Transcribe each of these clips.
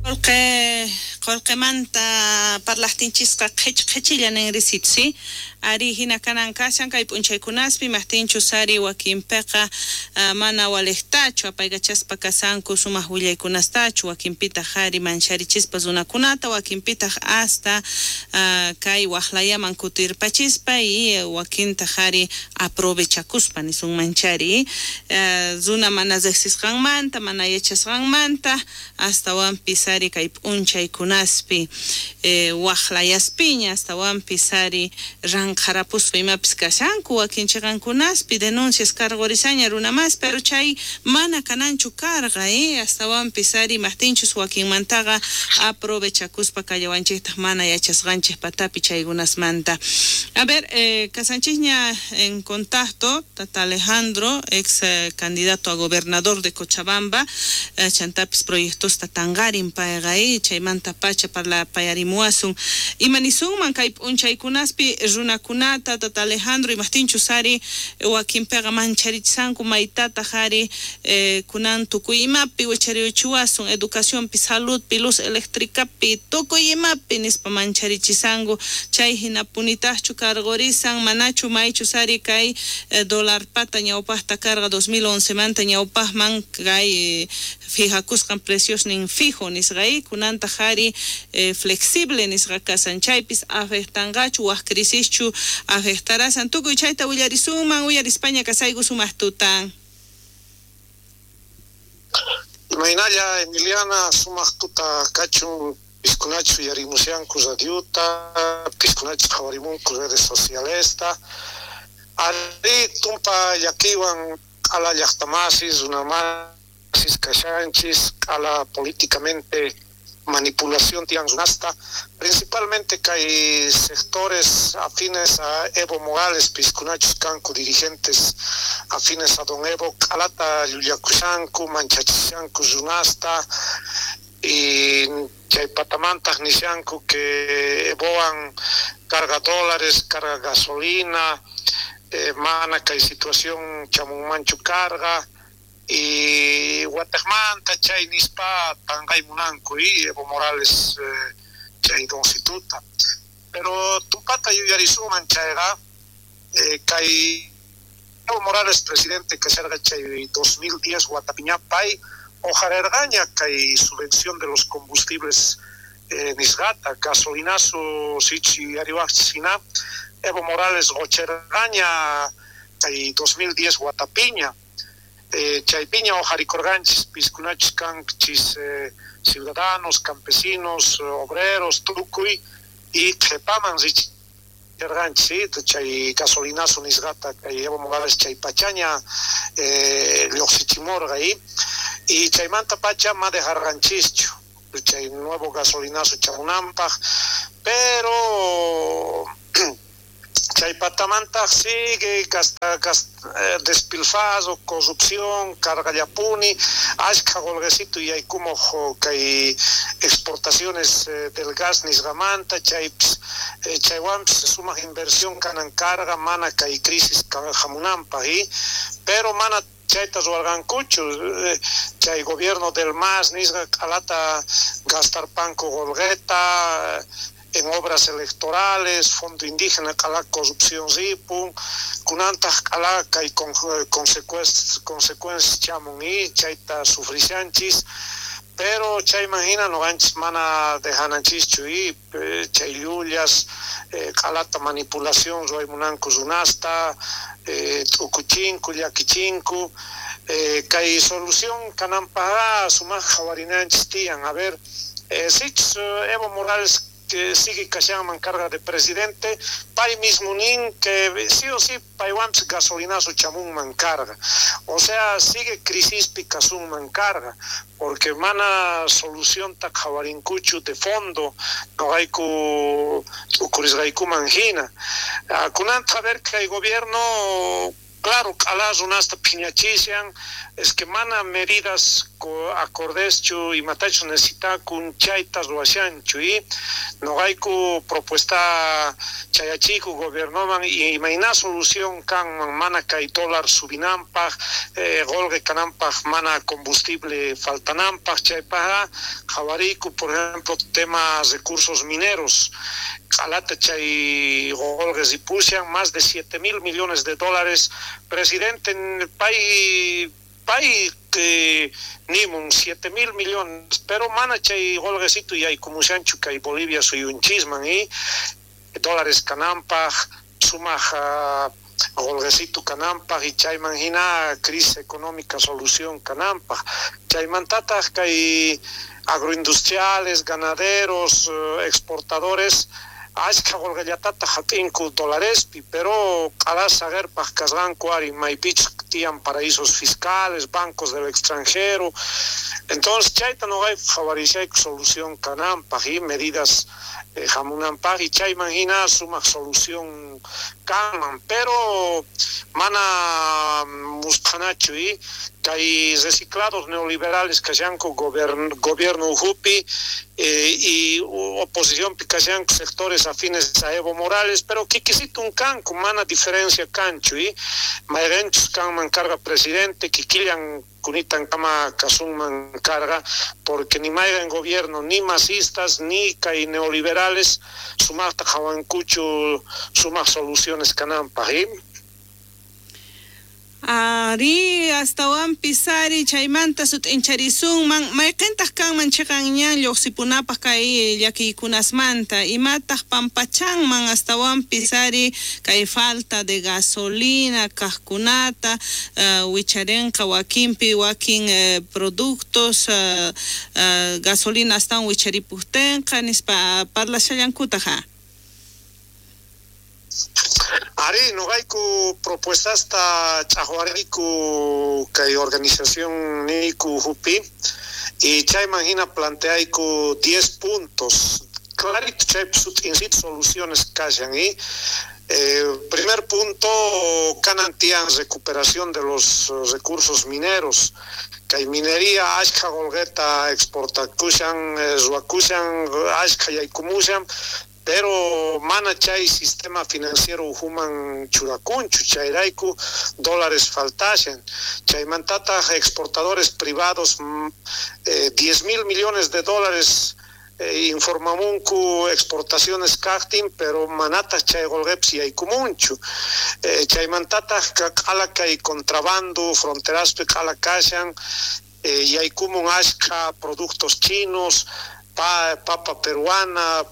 Qolqe, qolqemanta parlajtinchisqa qhech qhechilla ninrisitsi, ¿sí? Ari hina kanan kashan kay p'unchaykunaspi maqtinchus ari wakinpiqa mana walejtachu apaykachaspa kasanku sumaq willaykunastachu, wakinpitaq ari mancharichispa runakunata, wakinpitaq hasta kay waqlayaman kutirpachispa y wakintaq ari aprovechakuspa nisunmanchari, runa mana riqsisqanmanta, mana yachasqanmanta, astawanpis ari kay p'unchaykunaspi waqlayaspiña, astawanpis ari ranqharapuspa imapis kashanku wakin chiqankunaspi denuncias karqurisaña runamas, pero chay mana kananchu karqa, astawanpis ari maqtinchus wakinmantaqa aprovechakuspa kallawanchiktaq mana yachasqanchik patapi chaykunasmanta. A ver, kasanchikña en contacto tata Alejandro, ex candidato a gobernador de Cochabamba, chantapis proyectosta tanqarin payqa, chaymanta pacha parlapayarimuwasun. Imanisunman kay p'unchaykunaspi runakunata, tata Alejandro, imaqtinchus ari wakinpiqa mancharichishanku maytataq ari kunan tukuy imapi wicharichiwasun, educacionpi, saludpi, luz eléctricapi, tukuy imapi nispa mancharichishanku, chay hinapunitaqchu karqurisan, manachu maychus ari kay dólar pata ñawpaqta karqa 2011 manta ñawpaqman kay fijakusqan preciosnin fijo nisqa, kunantaq ari flexible nisqa kasan, chaypis afectanqachu waq crisischu afectarasan, tukuy chayta willarisunman, uyarispaña kasayku sumaq tutan. Imaynalla Emiliana, sumaq tuta kachun, piskunachu yarimushanku radiota, piskunachu qhawarimunku redes socialesta, ari tumpa llakiwan q'ala llaqtamasis, runamasis kashanchis, q'ala políticamente manipulación tiyan runasta, principalmente kay sectores afines a Evo Morales, piskunachus kanku dirigentes afines a don Evo, q'alata llullakushanku, manchachishanku runasta, y chay patamantaq nishanku que Evoan carga dólares, carga gasolina, mana kay situación chamunmanchu carga, y wataqmanta chay nispa tanqaymunanku y Evo Morales chay doncituta. Pero tumpata yuyarisuman chayqa, kay Evo Morales presidente kasharqa chay 2010 watapiñapay ojarerqaña kay subvención de los combustibles nisqata, gasolinazo sichus yuyariwaqchis hina, Evo Morales qocherqaña kay 2010 watapiña. Chaypiña ojarikurqanchis piskunachus kanchis ciudadanos, campesinos, obreros, tukuy, y qhepaman richerqanchis, chay gasolinazo nisqata kay Evo Morales chay pachaña lluqsichimurqa, y chaymanta pacha ma dejarqanchischu chay nuevo gasolinazo chamunanpaq, pero chay patamantaq sigue despilfarro, corrupción, cargallapuni, ashka qolqecito yaykumuq kay exportaciones del gas nisqamanta, chaypis chaywanpis sumaq inversión kanan carga mana kay crisis hamunanpaq, pero mana chayta ruwarqankuchu, chay gobierno del MAS nisqa q'alata gastarpanku qolqeta en obras electorales, fondo indígena, q'ala corrupción ripun, kunantaq q'ala kay consecuencias chamun y chayta sufrishanchis, pero chayman hina noqanchis mana dejananchischu y chay llullas, q'alata manipulación ruwaymunanku runasta, t'ukuchinku, llakichinku, kay solución kananpaqqa sumaq qhawarinanchis tiyan. A ver, sichus Evo Morales que sigue kashanman carga de presidente, pay mismo nin que sí o sí paywanpis gasolinazo chamunman carga, o sea, sigue crisispi kasunman carga, porque mana solución ta qhawarinkuchu de fondo noqayku t'ukurisqaykuman hina. Kunanta a ver kay gobierno Claro, q'ala runasta phiñachishan, es que mana medidas acordeschu imatachus necesitakun chayta ruwashanchu y noqayku propuesta chayachiku gobiernoman y imayna solución kanman mana kay dólar subinanpaj, qolqe kananpaj, mana combustible faltananpaj, chaypajqa qhawariyku, por ejemplo, tema recursos mineros, q'alata chay qolqe ripushan más de 7 mil millones de dólares. Presidente pay pay nimun 7 mil millones, pero mana chay qolqesitu yaykumushanchu kay Bolivia suyunchisman y dólares kananpaj, sumaj qolqesitu kananpaj y chayman hina crisis económica solución kananpaj. Chaymantataj kay agroindustriales, ganaderos, exportadores, ashkha qolqellatataq hap'inku dolarespi, pero q'ala saqerpaj kasqanku ari maypichus tiyan paraísos fiscales, bancos del extranjero. Entonces chayta noqayku qhawarishayku solución kananpaj y medidas hamunanpaj y chayman hina sumaq solución kanman, pero mana musphanachu y kay reciclados neoliberales kashanku gobierno ukhupi y oposicionpi kashanku sectores afines a Evo Morales, pero kikisitun kanku, mana diferencia kanchu y mayqenchus kanman karqa presidente, kikillan kunitan kama kasunman karqa, porque ni mayqen gobierno, ni masistas, ni kay neoliberales sumaqta qhawankuchu sumaq soluciones kananpaj y Ari, astawanpis ari chaymanta sut'incharisunman, mayqintaq kanman chiqan ñan lluqsipunapaq kay llakiykunasmanta, imataq pampachanman astawanpis ari kay falta de gasolina kaqkunata, wicharinqa wakinpi wakin productos, gasolina astawan wicharipuktinqa nispa parlashallankutaq? Ari, noqayku propuestasta ch'aqwariyku kay organización niyku ukhupi y chayman hina planteayku 10 puntos clarito, chaypi sut'insita soluciones kashan y primer punto, kanan tiyan recuperación de los recursos mineros. Kay minería ashkha qolqeta exportakushan, ruwakushan, ashkha yaykumushan, pero mana chay sistema financiero ukhuman churakunchu, chayrayku dólares faltashan. Chaymantataq exportadores privados, 10 mil millones de dólares informamunku exportaciones kaqtin, pero manataq chay qolqepis yaykumunchu. Chaymantataq q'ala kay contrabando fronteraspi q'ala kashan, yaykumun ashkha productos chinos, papa peruana,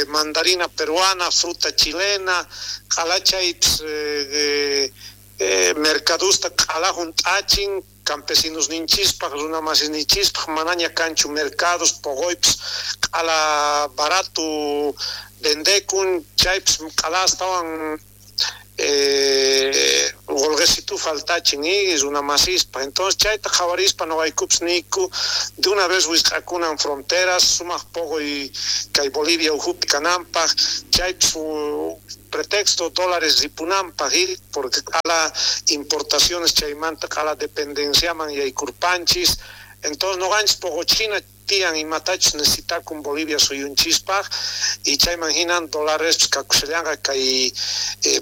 mandarina peruana, fruta chilena, q'ala chaypis mercadusta q'ala hunt'achin, campesinos ninchispaj, runa masinchispaj manaña kanchu mercados, poqoypis q'ala barato vendekun, chaypis q'ala astawan qolqesitu faltachin y runa masispaj. Entonces chayta qhawarispa noqaykupis niyku de una vez wisq'akunan fronteras, sumaq poqoy kay Bolivia ukhupi kananpaj, chaypis pretexto dólares ripunanpaj y porque q'ala importaciones chaymanta q'ala dependenciaman yaykurpanchis. Entonces noqanchis poqochina tiyan imatachus necesitakun Bolivia suyunchispaj y chayman hinan dólares kakushallanqa kay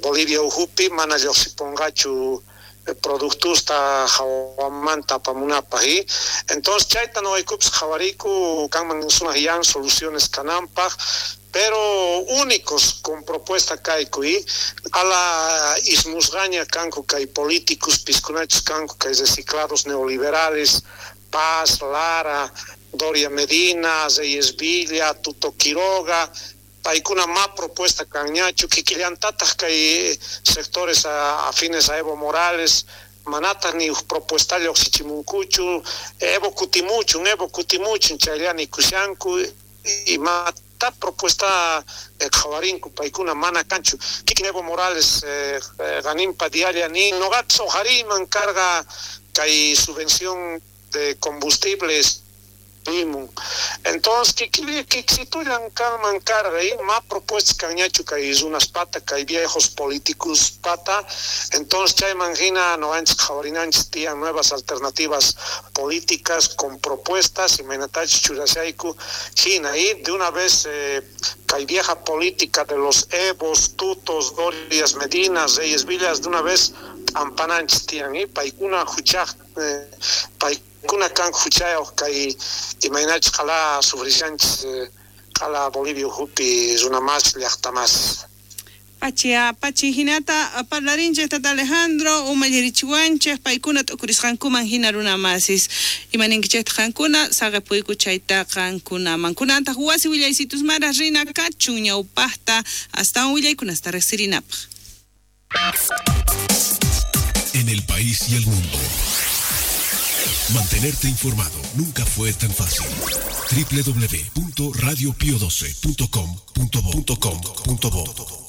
Bolivia ukhupi, mana lluqsipunqachu productusta hawamanta apamunapaj y entonces chayta noqaykupis qhawariyku kanman sumaq yan soluciones kananpaj, pero únicos con propuesta kayku y ala ismusqaña kanku kay políticos piskunachus kanku kay reciclados neoliberales, Paz, Lara, Doria Medina, Reyes Villa, Tuto Quiroga, paykuna ma propuesta kanñachu, kikillantataq kay sectores afines a Evo Morales, manataq ni uj propuesta lluqsichimunkuchu, Evo kutimuchun, Evo kutimuchun, chaylla nikushanku, imata propuesta qhawarinku paykuna mana kanchu. Kikin Evo Morales qaninpa diaria nin, noqapis uqhariyman karqa kay subvención de combustibles nimun. Entonces kiksitullan kanman karqa ma propuestas kanñachu kay runaspata, kay viejos políticos pata. Entonces chayman hina noqanchis qhawarinanchis tiyan nuevas alternativas políticas con propuestas imaynatachus churashayku hina y de una vez kay vieja política de los Evos, Tutos, Dorias, Medinas, Reyes Villas, de una vez ampananchis tiyan y paykuna huchaj paykuna kan huchayoj kay imaynachus qhala sufrishanchis qhala Bolivia ukhupi runa mas llaqta mas. Pachi hinata parlarinchej tata Alejandro umallirichiwanchej paykuna t'ukurisqankuman hina runa masis imaninkichejtaq qankuna saqepuyku chayta qankunaman kunantaq wasi willaysitus mara rina kachun ñawpaqta astawan willaykunasta riqsirinapaq. En el país y el mundo, mantenerte informado nunca fue tan fácil. www.radiopio12.com.bo.com.bo.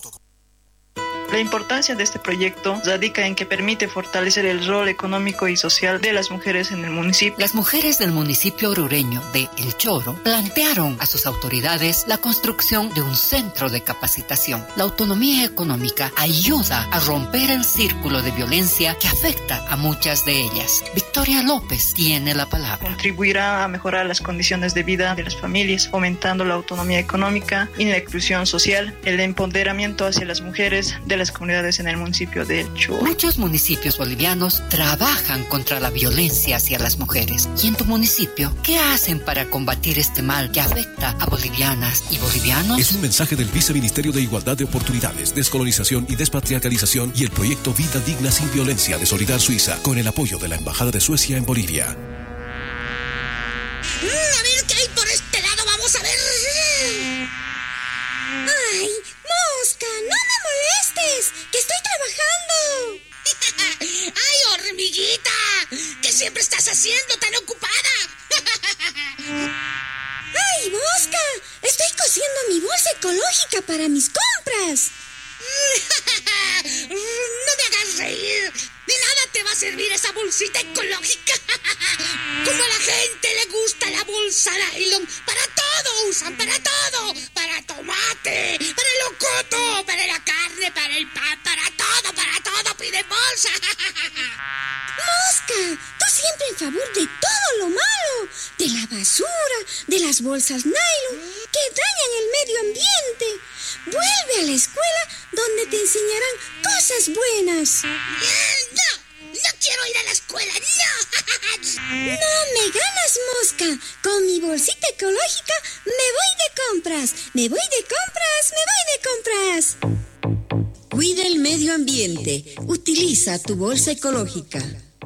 La importancia de este proyecto radica en que permite fortalecer el rol económico y social de las mujeres en el municipio. Las mujeres del municipio orureño de El Choro plantearon a sus autoridades la construcción de un centro de capacitación. La autonomía económica ayuda a romper el círculo de violencia que afecta a muchas de ellas. Victoria López tiene la palabra. Contribuirá a mejorar las condiciones de vida de las familias, fomentando la autonomía económica y la inclusión social, el empoderamiento hacia las mujeres de las comunidades en el municipio de El Choro. Muchos municipios bolivianos trabajan contra la violencia hacia las mujeres. ¿Y en tu municipio qué hacen para combatir este mal que afecta a bolivianas y bolivianos? Es un mensaje del Viceministerio de Igualdad de Oportunidades, Descolonización y Despatriarcalización y el proyecto Vida Digna sin Violencia de Solidar Suiza, con el apoyo de la Embajada de Suecia en Bolivia. A ver qué hay por este lado, vamos a ver. ¡Ay, mosca! ¡No me molestes! ¡Que estoy trabajando! ¡Ay, hormiguita! ¿Qué siempre estás haciendo tan ocupada? ¡Ay, mosca! Estoy cosiendo mi bolsa ecológica para mis compras. ¡No me hagas reír! ¡De nada te va a servir esa bolsita ecológica! Como a la gente le gusta la bolsa nylon, para todo usan, para todo. Para tomate, para el locoto, para la carne, para el pan, para todo piden bolsa. ¡Mosca! Tú siempre en favor de todo lo malo, de la basura, de las bolsas nylon, que dañan el medio ambiente. Vuelve a la escuela donde te enseñarán cosas buenas. ¡No! ¡No quiero ir a la escuela! ¡No! ¡No me ganas, mosca! Con mi bolsita ecológica me voy de compras. ¡Me voy de compras! ¡Me voy de compras! Cuida el medio ambiente. Utiliza tu bolsa ecológica.